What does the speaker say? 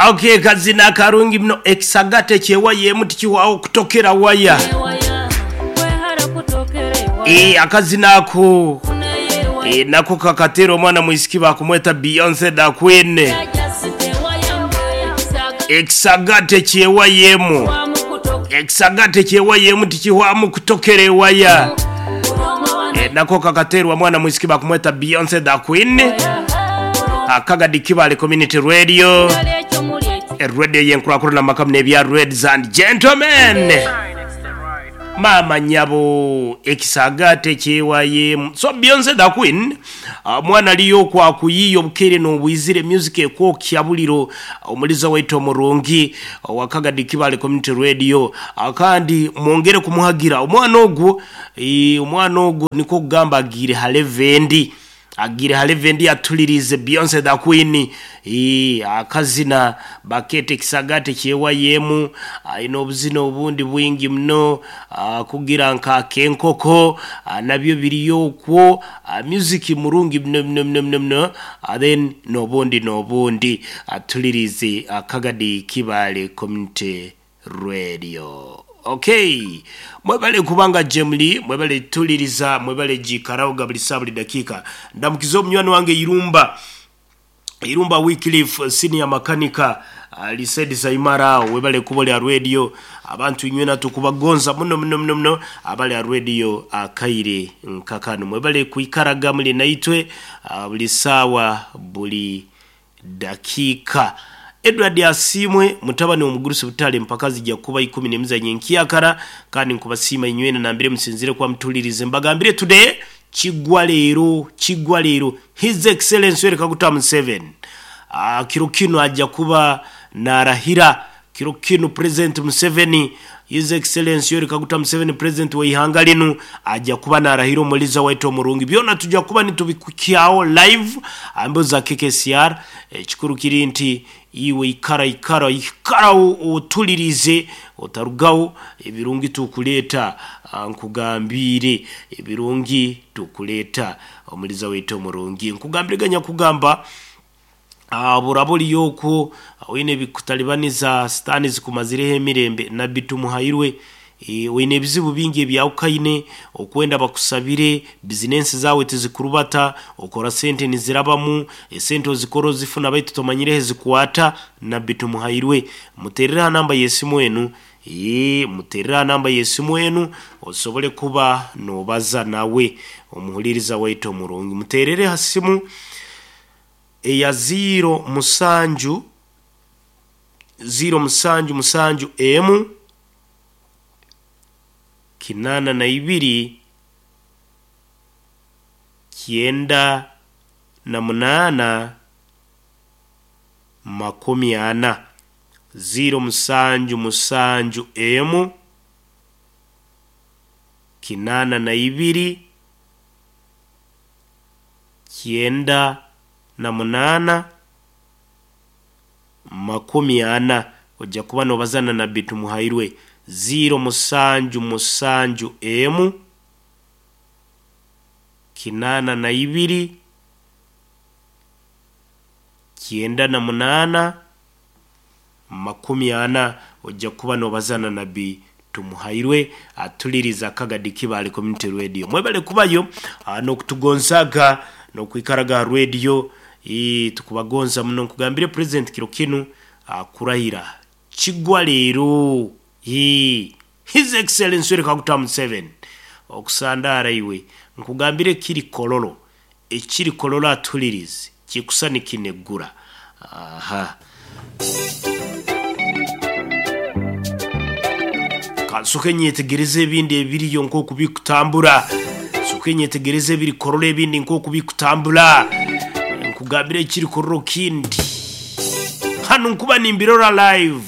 Okay, kazina akarungi muno ekisagate ekyewaya emu tikihwaho kutokera waya. Eh, akazina ako eh, nako kakatera omwana mwisiki bakumweta Beyonce the Queen. Ekisagate kyewaya emu ekisagate kyewaya emu tikihwamu kutokera ewaya. Eh, nako kakaterwa mwana mwisiki bakumweta Beyonce the Queen. Akagadi Kibale Community Radio. Radio yenkurakurana makamu nebya Reds and Gentlemen. Maama nyabo ekisagate kyewayemu. So Beyonce the Queen mwana aliyo okwakuyiiya obukeire n'obwizire music ekwokya buliro omuliza waitu omurungi owa Kagadi Kibale Community Radio kandi mwongere kumuhagira omwana ogwo omwana ogwo nikwo kugamba agiire ha level endi. Agiire ha level endi atuliriize Beyonce the Queen akazina bakeeta ekisagate kyewayemu aine obuzina obundi bwingi muno kugira nka ak'enkoko nabyo biriyo okwo music murungi muno muno muno muno muno then n'obundi n'obundi atuliriize Kagadi Kibale Community Radio. Okay, mwebale kubanga jemuli mwebale tuliriza mwebale jikaraoga buli saa buli dakiika. Ndamukiza omunywani wange Irumba Irumba Wycliffe senior makanika Lisedi Saimara webale kuba oli radio abantu inywena tukubagonza muno muno muno muno abali a radio akaire nkakano mwebale kuikaraga muli naitwe buli saawa buli dakiika. Edward Asimwe mutabani omugurusi butale mpaka zijja kuba ikumi n'emizanyo enkyakara kandi nkubasiima inywena nambire musinzire kwa mutulirize mbagambire today kigwa leero kigwa leero His Excellency Yoweri Kaguta Museveni kiro kino ajja kuba narahira kiro kino President Museveni His Excellency Yoweri Kaguta Museveni President w'eihanga linu ajja kuba narahira omuliza waitu omurungi byona tujja kuba nitubikukyaho live ambo za KKCR ekikuru kiri nti iwe ikara ikara ikara otulirize otarugaho ebirungi tukuleeta nkugambire ebirungi tukuleeta omuliza waitu omurungi nkugambire ganya kugamba buraburi yokwo wine bikutalibaniza sitani zikumazireho emirembe nabbi tumuhairwe wine ebizibu bingi ebyawukaine okwenda bakusabire bizinensi zawe tizikurubata okora sente nizirabamu esente ozikora ozifuna baitu tomanyireho zikwata nabbi tumuhairwe muterere ha namba y'esimu enu muterere ha namba y'esimu enu osobole kuba nobaza nawe omuhuliriza waitu omurungi muterere ha simu eya 0 musanju 0 musanju musanju emu 82 98 40 0 musanju musanju emu 82 98 40 ojja kuba nobazana nabbi tumuhairwe 0 musanju musanju emu 82 98 40 ojja kuba nobazana nabbi tumuhairwe atuliriza Kagadi Kibale Community Radio mwebale kubayo n'okutugonzaga n'okwikaraga radio tukubagonza muno nkugambire President kiro kinu akurahira kigwa leero His Excellency Yoweri Kaguta Museveni okusandara iwe nkugambire kiri kololo ekiri kololo atulirize kikusani kinegura aha kansoke nyetegereze ebindi ebiriyo nk'oku bikutambura soke nyetegereze ebiri kololo ebindi nk'oku bikutambura nkugambire ekiri kololo kindi hano nkuba nimbirora live.